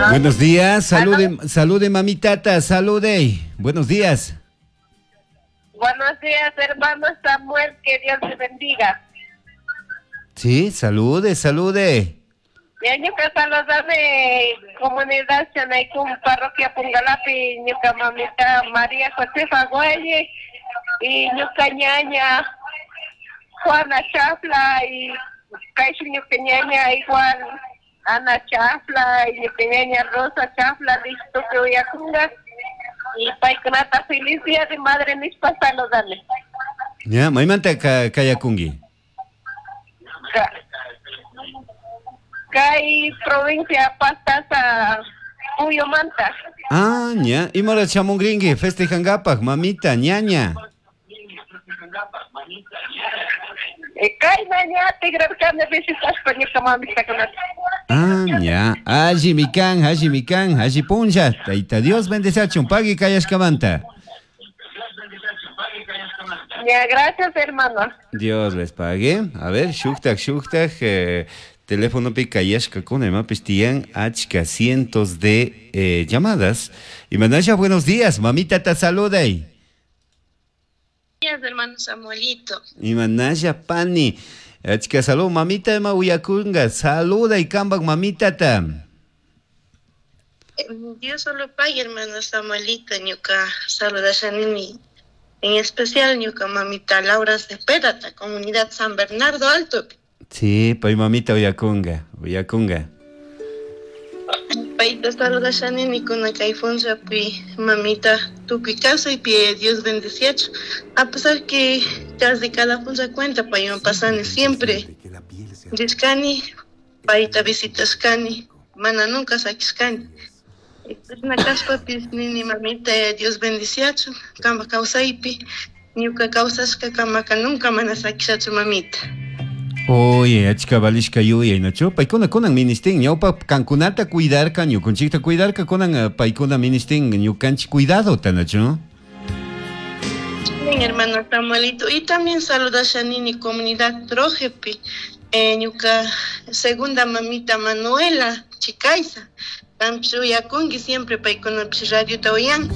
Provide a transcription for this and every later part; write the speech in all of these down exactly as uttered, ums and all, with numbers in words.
Buenos días, salude, salude mamitata, salude. Buenos días. Buenos días, hermano Samuel, que Dios te bendiga. Sí, salude, salude. Ñuka saludame comunidad Chanaicum, parroquia Pungalapi, ñuka mamita María Josefa Güelle y ñuka ñaña Juana Chafla y Kaishu ñuka ñaña igual Ana Chafla y ñuka ñaña Rosa Chafla, listo que uyakunga y paykunata feliz día de madre nishpa saludame. Ya, maymanta ka kayakungi. Ka- Kay provincia Pastaza Puyumanta. Ah, ña, imara chamungringi, festejankapaj, mamita, ñaña. Eh, Kayna ña tigrarkani visitashpa ñuka mamitakunata. Ah, ña, alli mikan, alli mikan, alli punlla. Tayta Dios bendeciachun, pagui kayashkamanta. Ya, gracias hermano. Dios les pague. A ver, shuktak, shuktak, eh, teléfono pi kayashkakuna imapis tiyan achka cientos de eh, llamadas. Y Manasha, buenos días, mamita te saluda. días, hermano Samuelito. Y Manasha pani. Achka salud, mamita ima uyakunga, saluda y kambak mamita ta. Eh, Dios solo pague, hermano Samuelito, ñuka saludashanini. En especial ñuka mamita Laura Cepeda, ta comunidad San Bernardo Alto. Sí, pay mamita uyakunga, uyakunga. Paita saludashanini kuna kay pi mamita tukuy y pie Dios bendeciacho. A pesar que casi cada funza cuenta payman pasani siempre. Rishkani, paita visitashkani, mana nunca sakishkani. Na kashpapis nini mamita Dios bendiciacho, kamba kawsaypi, ñuka kawsashka kamaka nunca mana sakishachu mamita. Oye, achka valishka yuyay, nachu? Paykuna kunan ministin, ñawpa kankunata cuidarka, ñukunchikta cuidarka, kunan eh, paykuna ministin, ñukanchik cuidado, nachu? Bien, hermano Samuelito. Y también saludashanini comunidad Trojepi, eh, ñuka segunda mamita Manuela Chicaiza. Kampish uyakunki siempre paykunapish radiota uyan.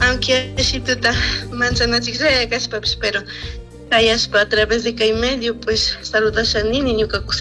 Aunque ashituta manchanachikllaya kashpapish, pero kayashpa a través de kay medio pues saludashanini ñuka kusita.